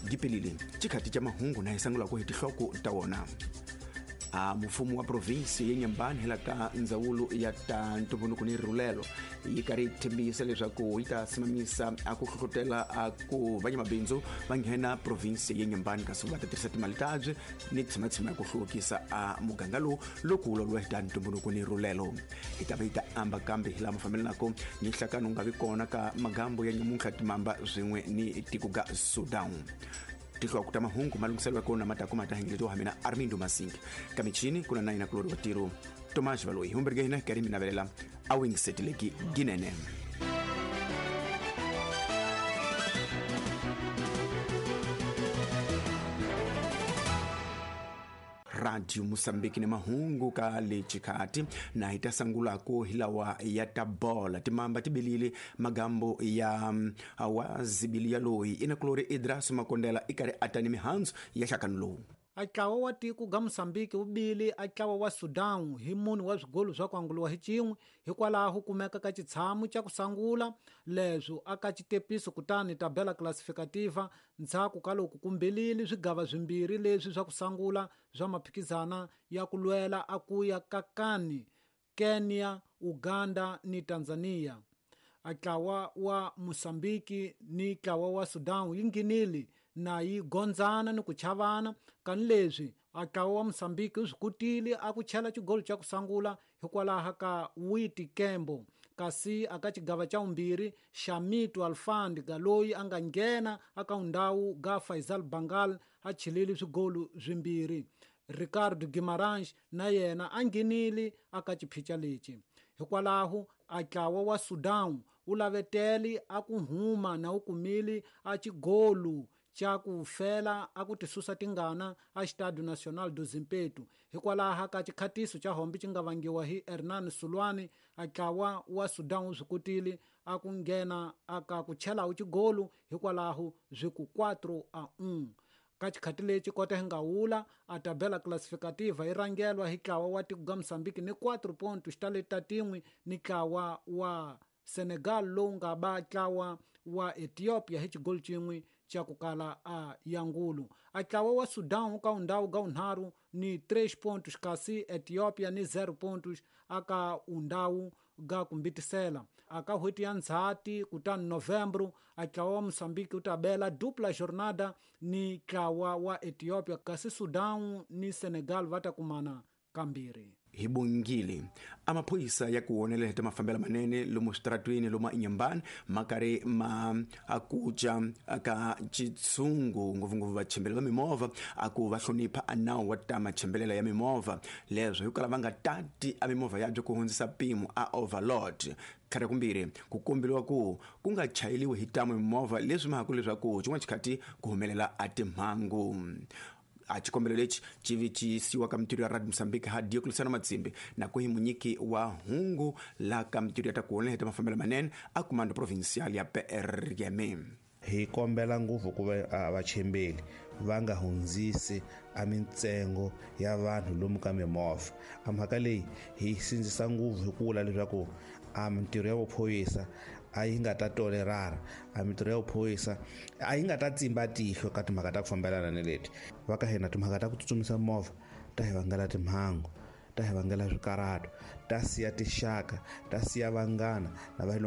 Gipelile chikhati cha mahungu na hi sangulako hi tinhloko ta wona. A mfumo wa provinsi ya Nyambani hela ka ndzawulo ya ta ntumbuluko ni rhulelo yi karhi yi tshembisa leswaku yi ta simamisa a ku hlohlotela a ku vanyamabindzu va nghena provinsi ya Nyambani, kasi va ta tirhisa timali tabye ni tshimatshima ya ku hluvukisa a muganga lowu loko wu lawuriwa hi ta ntumbuluko ni rhulelo. Hi ta va yi ta amba kambe hi laha mafambelanako ni nhlakano wu nga vi kona ka magambo ya nyamuntlha timamba swin'we ni tiko ga Sudan. Tinhloko ta mahungu ma lunghiseriwa kona ma ta kuma ta hengeletiwa mina Armindo Masing. Ka michini kuna na yina kulori wa tiro Tomas Valoyi. Humberge hina karhi mi navelela a wingiseteleki ginene. Radio Mosambiki ni mahungu ka le chikhati na hi ta sangulako hi lawa ya ta bola. Timamba tibilile magambo ya wa zibili ya loyi ina kulori Idras Makondela i karhi a ta ni mihandzu ya hlakano lowu. A ntlawa wa tiko ga Mosambiki wu bile a ntlawa wa Sudan hi mune wa swigolo swa ku anguliwa hi cin'we hikwalaho kumeka ka xitshamo xa ku sangula leswo aka xitepiso kutani tabela classificativa ndzhaku ka loko kumbelile swigava swimbirhi leswi swa ku sangula swa maphikizana ya ku lwela a ku ya ka Kani, Kenya, Uganda ni Tanzania. A ntlawa wa Mosambiki ni ntlawa wa Sudan yi nghenile na yi gondzana ni ku chavana kani leswi a ntlawa wa Mosambiki wu swi kotile a ku chela xigolo xa ku sangula hikwalaho ka Witi Kembo, kasi aka xigava xa vumbirhi Xamito Alfand loyi a nga nghena aka ndhawu ga Faisal Bangal a chelile swigolo swimbirhi. Ricardo Guimarães na yena a nghenile aka xiphica lexi. Hikwalaho a ntlawa wa Sudan wu lavetele a ku huma na wu kumile a xigolo xa ku fela a ku tisusa tingana a Estádio Nacional do Zimpeto. Hikwalaho ka xikhatiso xa hombe xi nga vangiwa hi Hernan Sulwani, a ntlawa wa Sudan wu swi kotile a ku nghena aka ku chela wu xigolo hikwalaho swi ku 4-1. Ka xikhati lexi kota hi nga wula a tabela classificativa yi rhangelwa hi ntlawa wa tiko ga Mosambiki ni 4 pontos xitaleti tin'we ni ntlawa wa Senegal lowu nga ba ntlawa wa Ethiopia hi xigolo xin'we xa ku kala a yangulu. A ntlawa wa Sudan wu ka undhawu ga unharhu ni 3 pontos kasi Ethiopia ni 0 pontos aka undhawu ga kumbitisela. Aka n'hweti ya Ndzhati kutani Novembro a ntlawa wa Mosambiki wu ta bela dupla jornada ni ntlawa wa Ethiopia kasi Sudan ni Senegal va ta kumana kambirhi. Hi bongile a maphorisa ya ku wonelela hi ta mafambelo manene lomu switaratwini lomu eNyambani ma karhi ma akuca ka xitshungu ngopfungopfu vachembeli va mimovha a ku va hlonipha a nawu wa ta machembelela ya mimovha leswo hi kala va nga tati a mimovha yabyo ku hundzisa mpimo a overload. Tlhari kumbirhi ku komberiwa ku ku nga chayeliwi hi tamu mimovha leswi mhaku leswaku xin'wana xikhathi ku humelela a timhangu. A xikombelo lexi xi vi xi siwa ka mintirho ya Radio Mosambiki ha Diocleciano Matsimbi na ku hi munyiki wa hungu la ka mintirho ya ta ku honela hi ta mafambelo manene a Comando Provincial ya PRM. Hi kombela ngopfu ku va vachembeli va nga hundzisi a mintsengo ya vanhu lomu ka mimovha. A mhaka leyi hi sindzisa ngopfu hi ku vula leswaku a mintirho ya vuphorisa a yi nga ta tolerara, a mintirho ya vuphorisa a yi nga ta tsimba tihlo ka timhaka ta ku fambelana ni leti. Va ka hina timhaka ta ku tsutsumisa movha ta hi vangela timhangu, ta hi vangela swikarato, ta siya tixaka, ta siya vanghana na va